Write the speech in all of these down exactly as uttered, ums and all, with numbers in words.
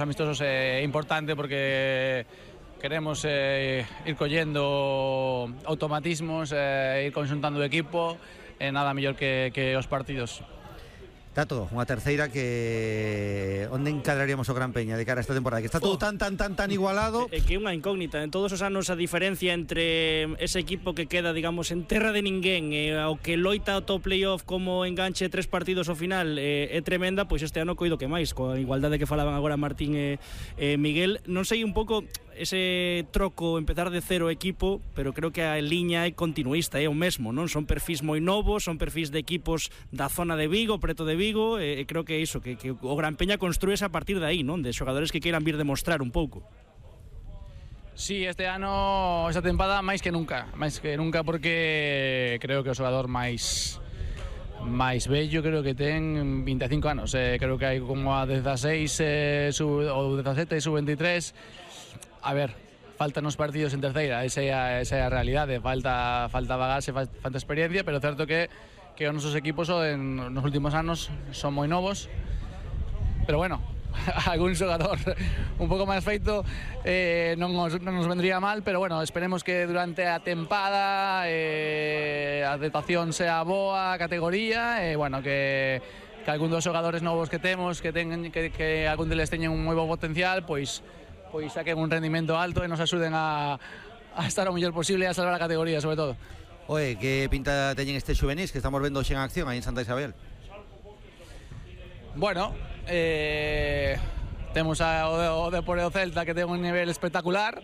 Amistosos é importante porque queremos eh, ir collendo automatismos, eh, ir conxuntando o equipo, e eh, nada mellor que, que os partidos. Tato, unha terceira que onde encadraríamos o Gran Peña de cara a esta temporada, que está todo oh. tan, tan, tan, tan igualado. É que é unha incógnita, en todos os anos a diferencia entre ese equipo que queda, digamos, en terra de ninguén e eh, o que loita o top playoff como enganche tres partidos ao final eh, é tremenda, pois este ano coido que máis, coa igualdade que falaban agora Martín e eh, Miguel. Non sei un pouco ese troco, empezar de cero equipo, pero creo que a liña é continuista, é o mesmo, non? Son perfis moi novos, son perfis de equipos da zona de Vigo, preto de Vigo, e creo que é iso, que, que o Gran Peña construíse a partir de aí, non? De xogadores que queiran vir demostrar un pouco. Sí, este ano, esta tempada, máis que nunca, máis que nunca porque creo que o xogador máis máis bello creo que ten vinte e cinco anos, eh, creo que hai como a dezaseis eh, sub, ou dezasete, sub veintitrés. A ver, faltan os partidos en terceira, esa é a, esa é a realidade, falta falta bagaxe, falta experiencia, pero é certo que que os nosos equipos en nos últimos anos son moi novos. Pero bueno, algún xogador un pouco máis feito eh, non, nos, non nos vendría mal, pero bueno, esperemos que durante a tempada eh, a adaptación sea boa, a categoría, e eh, bueno, que que algún dos xogadores novos que temos, que ten, que, que algún deles teñen un moi bo potencial, pois pois saquen un rendimento alto e nos axuden a, a estar o mellor posible e a salvar a categoría, sobre todo. Oe, que pinta teñen estes xuvenis que estamos vendo xe en acción aí en Santa Isabel? Bueno, eh, temos a, o, o Depor e o Celta que ten un nivel espectacular,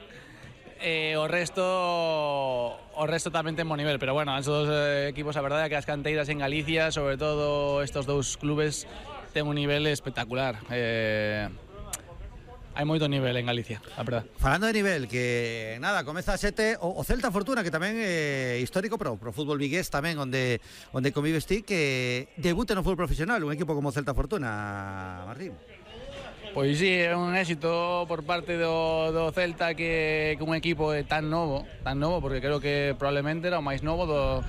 e o resto o resto tamén ten bo nivel, pero bueno, esos dos eh, equipos, a verdade é que as canteiras en Galicia, sobre todo estos dous clubes, ten un nivel espectacular. Eh, hai moito nivel en Galicia, a verdade. Falando de nivel, que nada, comeza a sete o, o Celta Fortuna, que tamén é histórico pro, pro fútbol vigués tamén, onde onde convives ti, que debute no fútbol profesional un equipo como Celta Fortuna, Martín. Pois sí, é un éxito por parte do, do Celta que, que un equipo é tan novo, tan novo, porque creo que probablemente era o máis novo do,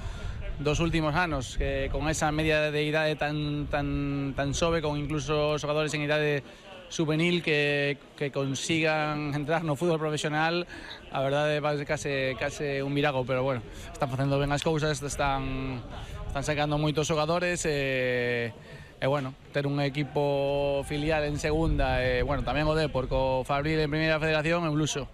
dos últimos anos, que con esa media de idade tan tan tan sobe, con incluso xogadores en idade juvenil que, que consigan entrar no fútbol profesional, a verdade é case, case un mirago, pero bueno, están facendo ben as cousas, están, están sacando moitos xogadores e, e bueno, ter un equipo filial en segunda e bueno, tamén o Depor co Fabril en primeira federación é un luxo.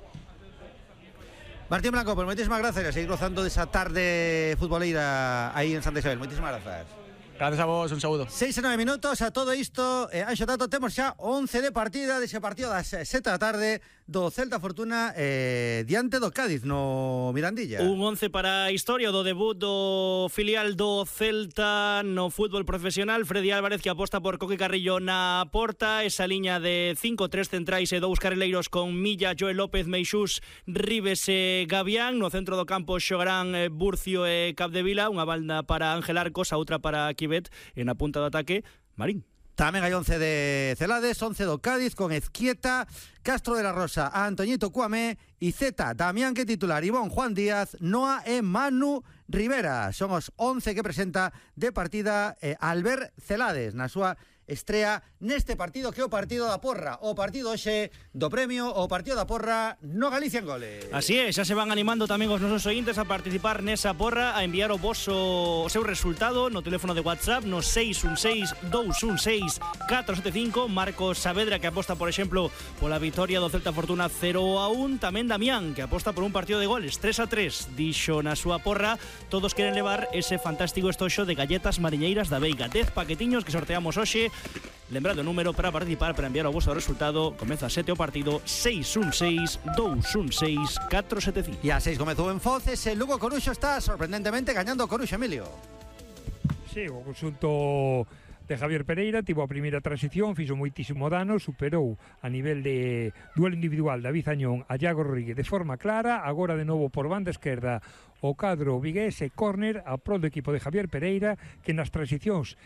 Martín Blanco, pues moitísimas gracias a seguir gozando desa tarde futboleira aí en Santa Isabel. Moitísimas gracias. Gracias a vos, un saúdo. seis e nove minutos a todo isto, eh, Anxo Tato, temos xa once de partida dese partido das sete da tarde do Celta Fortuna eh, diante do Cádiz no Mirandilla. Un once para a historia do debut do filial do Celta no fútbol profesional. Freddy Álvarez, que aposta por Coque Carrillo na porta, esa liña de cinco, tres centrais e dous carrileiros con Milla, Joel López, Meixús, Ribes e Gavián. No centro do campo xogarán eh, Burcio e Capdevila, unha banda para Ángel Arcos, a outra para Quivet, e na punta do ataque, Marín. Tamén hai once de Celades, once do Cádiz con Ezquieta, Castro de la Rosa, Antoñito Cuamé e Zeta, Damián que titular, Ivón, Juan Díaz, Noa e Manu Rivera. Son os once que presenta de partida eh, Albert Celades na súa estrea neste partido, que é o partido da porra, o partido hoxe do premio, o partido da porra no Galicia en Goles. Así é, xa se van animando tamén os nosos ointes a participar nesa porra, a enviar o voso o seu resultado no teléfono de WhatsApp no seis un seis, dous un seis, catro sete cinco. Marcos Saavedra, que aposta, por exemplo, pola vitoria do Celta Fortuna cero a un. Tamén Damián, que aposta por un partido de goles tres a tres. Dixo na súa porra, todos queren levar ese fantástico estoxo de galletas mariñeiras da Veiga. dez paquetiños que sorteamos hoxe. Lembrado o número para participar, para enviar o vosso resultado. Comeza a sete o partido, seis un seis, dous un seis, catro sete cinco. E a seis comezou en Foces, el Lugo Coruxo está sorprendentemente gañando o Coruxo, Emilio. Sí, o conxunto de Javier Pereira tivo a primeira transición, fixo moitísimo dano, superou a nivel de duelo individual David Añón a Iago Rodríguez de forma clara. Agora de novo por banda esquerda o cadro vigués e córner a prol do equipo de Javier Pereira, que nas transicións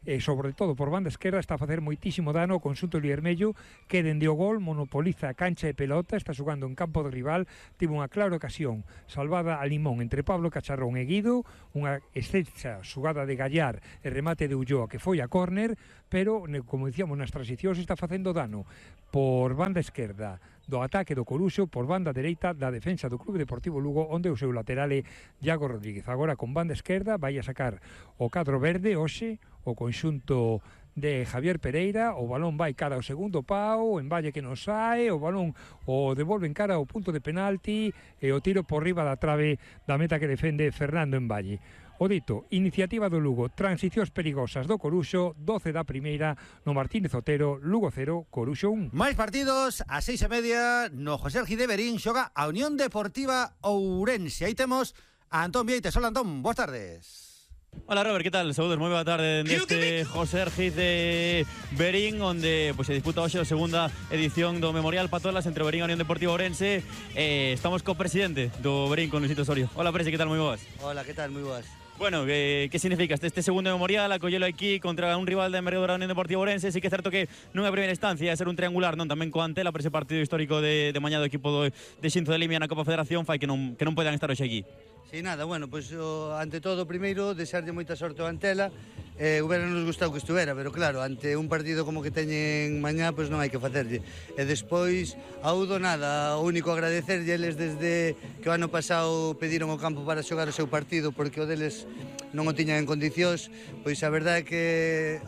e sobre todo por banda esquerda está a facer moitísimo dano o conxunto liermello, que dende o gol monopoliza a cancha e pelota, está xogando en campo do rival, tivo unha clara ocasión salvada a limón entre Pablo Cacharrón e Guido, unha estrecha xugada de Gallar e remate de Ulloa que foi a córner, pero como dicíamos nas transicións está facendo dano por banda esquerda do ataque do Coruxo, por banda dereita da defensa do Clube Deportivo Lugo, onde o seu lateral é Iago Rodríguez. Agora con banda esquerda vai a sacar o cadro verde hoxe o conxunto de Javier Pereira, o balón vai cara ao segundo pau, en valle que non sae, o balón o devolve en cara ao punto de penalti e o tiro por riba da trave da meta que defende Fernando en valle. O dito, iniciativa do Lugo, transicións perigosas do Coruxo, doce da primeira no Martínez Otero, Lugo cero, Coruxo un. Máis partidos, a seis e media, no José Argide Berín, xoga a Unión Deportiva Ourense. Aí temos a Antón Vieites. Hola, Antón, boas tardes. Hola Robert, ¿qué tal? Saludos, moi boa tarde deste José Argide Berín, onde pues, se disputa hoxe a segunda edición do Memorial Patolas entre Berín e Unión Deportiva Ourense. eh, Estamos co presidente do Berín, con Luisito Osorio. Hola, presi, ¿qué tal? Moi boas. Hola, ¿qué tal? Muy boas. Bueno, ¿qué, qué significa este, este segundo Memorial? Acollelo aquí contra un rival de envergadura da Unión Deportiva Ourense. Sí que é certo que non é a primeira instancia, é ser un triangular, non? Tamén co Antela, por ese partido histórico de, de mañá do equipo do, de Xinzo de Limia na Copa Federación, fai que non, que non poidan estar hoxe aquí. Sí, nada, bueno, pois pues, ante todo, primeiro, desearlle moita sorte ao Antela. Eh, hubiera nos gustado que estuvera, pero claro, ante un partido como que teñen mañá, pois pues non hai que facerlle. E despois, a Udo nada, o único agradecerlle eles desde que o ano pasado pediron o campo para xogar o seu partido, porque o deles non o tiñan en condicións, pois a verdade é que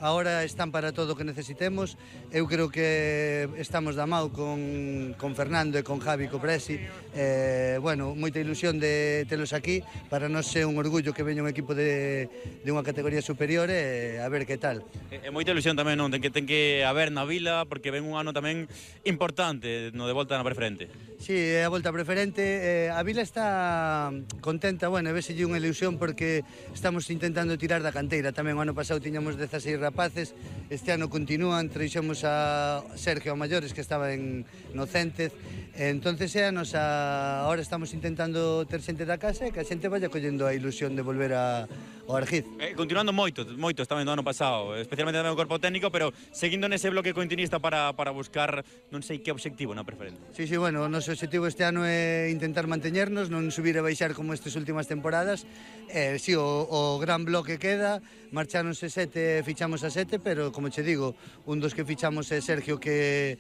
agora están para todo o que necesitemos. Eu creo que estamos da mau con, con Fernando e con Javi, co Presi. Eh, bueno, moita ilusión de telos aquí, para nós é un orgullo que veña un equipo de, de unha categoría superior e a ver que tal. É moita ilusión tamén, non? Ten que, ten que haber na vila, porque ven un ano tamén importante no de volta na preferente. Sí, é a volta preferente. Eh, a vila está contenta, bueno, veselle unha ilusión porque estamos intentando tirar da canteira tamén. O ano pasado tiñamos dezaseis rapaces, este ano continúan, treixemos a Sergio Maiores que estaba en Nocéntez. Entonces é a nosa, ahora estamos intentando ter xente da casa e que a xente vaya collendo a ilusión de volver a, ao Argiz. Eh, continuando moito, moito tamén do ano pasado, especialmente tamén o corpo técnico, pero seguindo nese bloque continuista para, para buscar non sei que objetivo na preferente. Sí, sí, bueno, o noso objetivo este ano é intentar manteñernos, non subir e baixar como estas últimas temporadas. Eh, sí, o, o gran bloque queda, marcháronse sete, fichamos a sete, pero como che digo, un dos que fichamos é Sergio, que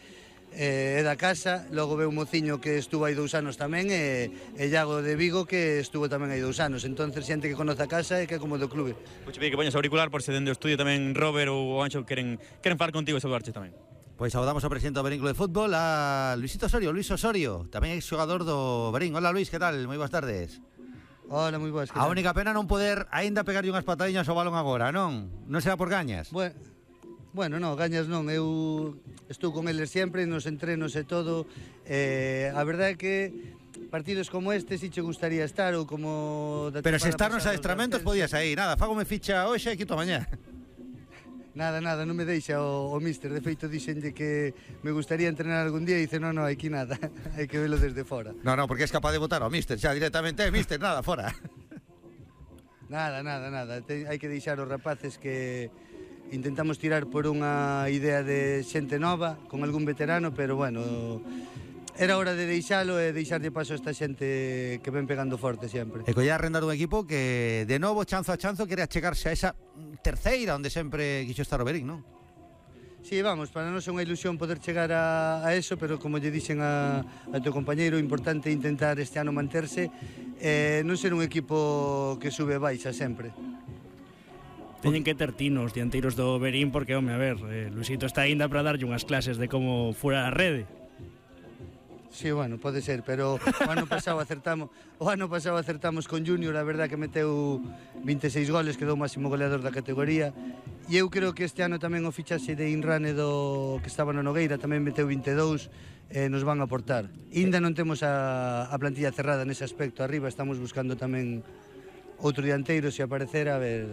eh, é da casa, logo ve un mociño que estuvo hai dous anos tamén, e, e Iago de Vigo que estuvo tamén hai dous anos. Entonces xente que conoce a casa e que é como do clube. Pois que poñas auricular por se dende o estudio tamén Robert ou Anxo queren, queren falar contigo e saludarche tamén. Pois saudamos ao presidente do Berín Club de Fútbol, a Luisito Osorio, Luis Osorio, tamén ex xogador do Berín. Hola Luis, que tal? Moi boas tardes. Hola, moi boas. A única pena non poder aínda pegarlle unhas patadiñas ao balón agora, non? Non será por gañas? Bueno, bueno, non, gañas non. Eu estou con eles sempre nos entrenos e todo. Eh, a verdade é que partidos como este si che gustaría estar, ou como da pero se estar nos pasada, adestramentos podías aí. Nada, fágome ficha hoxe e quito mañá. Nada, nada, non me deixa o, o míster. De feito, dixenlle que me gustaría entrenar algún día e dice, non, non, aquí nada, hai que velo desde fora. No, no, porque es capaz de votar ao míster xa directamente, eh, míster, nada, fora. Nada, nada, nada, Te, hai que deixar os rapaces que intentamos tirar por unha idea de xente nova, con algún veterano, pero bueno, era hora de deixalo e deixarlle paso a esta xente que ven pegando forte sempre. E colla arrendar un equipo que, de novo, chanzo a chanzo, quere achegarse a esa terceira onde sempre quixo estar o Berín, non? Sí, vamos, para nós é unha ilusión poder chegar a, a eso, pero como lle dixen a, a teu compañeiro, o importante é intentar este ano manterse e non ser un equipo que sube e baixa sempre. Teñen que ter tinos dianteiros do Berín porque, home, a ver, eh, Luisito está ainda para darlle unhas clases de como fuera a rede. Sí, bueno, pode ser, pero o ano pasado acertamos, o ano pasado acertamos con Junior, a verdad que meteu vinte e seis goles, quedou o máximo goleador da categoría. E eu creo que este ano tamén o fichaxe de Inrane do que estaba no Nogueira tamén meteu vinte e dous, e nos van a aportar. Ainda non temos a, a plantilla cerrada nese aspecto. Arriba estamos buscando tamén outro dianteiro, se aparecer, a ver,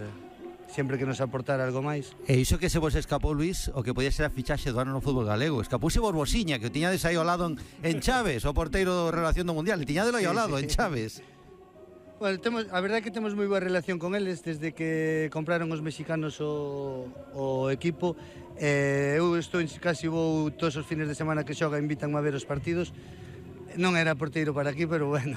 sempre que nos aportar algo máis. E iso que se vos escapou, Luis, o que podía ser a fichaxe do ano no fútbol galego. Escapouse Borbosiña, que o tiñades aí ao lado en, en Chaves, o porteiro de relación do Mundial. E tiñadelo aí ao lado, sí, sí, en Chaves. Bueno, temos, a verdade é que temos moi boa relación con eles desde que compraron os mexicanos o, o equipo. Eh, eu estou casi vou todos os fines de semana que xoga, invitanme a ver os partidos. Non era porteiro para aquí, pero bueno,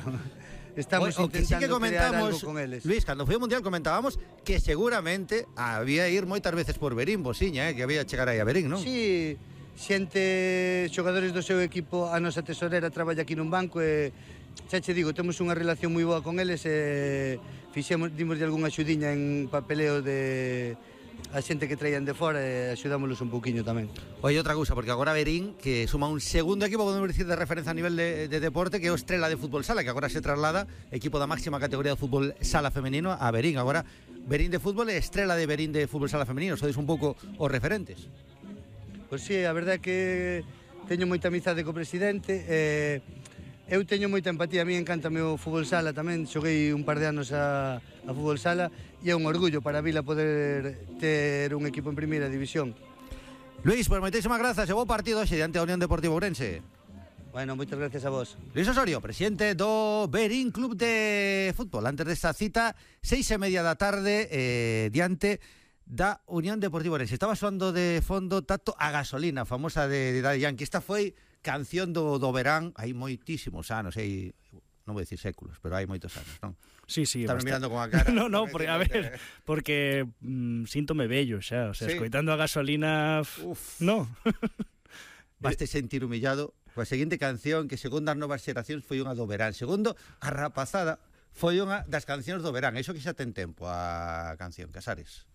estamos o, o que sí que intentando crear comentamos, algo con eles. Luis, cando foi o Mundial comentábamos que seguramente había ir moitas veces por Berín, Bosiña, eh, que había chegar aí a Berín, non? Sí, xente, xogadores do seu equipo, a nosa tesorera traballa aquí nun banco e xa che digo, temos unha relación moi boa con eles e fixemos, dimos de algunha axudiña en papeleo de a xente que traían de fora e axudámoslos un pouquiño tamén. Oye, outra cousa, porque agora Berín, que suma un segundo equipo, podemos dicir, de referencia a nivel de, de deporte, que é o Estrela de Fútbol Sala, que agora se traslada, equipo da máxima categoría de fútbol sala femenino, a Berín. Agora, Berín de fútbol e Estrela de Berín de fútbol sala femenino, sois un pouco os referentes. Pois sí, a verdade é que teño moita amizade co presidente e eu teño moita empatía, a mí encántame o fútbol sala tamén, xoguei un par de anos a, a fútbol sala e é un orgullo para a Vila poder ter un equipo en primeira división. Luis, pues moitísimas grazas e bo partido hoxe diante da Unión Deportiva Ourense. Bueno, moitas gracias a vos. Luis Osorio, presidente do Berín Club de Fútbol. Antes desta cita, seis e media da tarde, eh, diante da Unión Deportiva Ourense. Estaba soando de fondo Tato a gasolina, famosa de, de Daddy Yankee. Esta foi canción do, do verán, hai moitísimos anos, hai, non vou dicir séculos, pero hai moitos anos, non? Sí, sí. Estás mirando con a cara. No, no, porque, a ver, porque mm, síntome bello xa, o sea, sí. Escoitando a gasolina, uf, no. Baste sentir humillado coa seguinte canción que, segundo as novas xeracións, foi unha do verán. Segundo, a rapazada foi unha das cancións do verán. Iso que xa ten tempo a canción, Casares.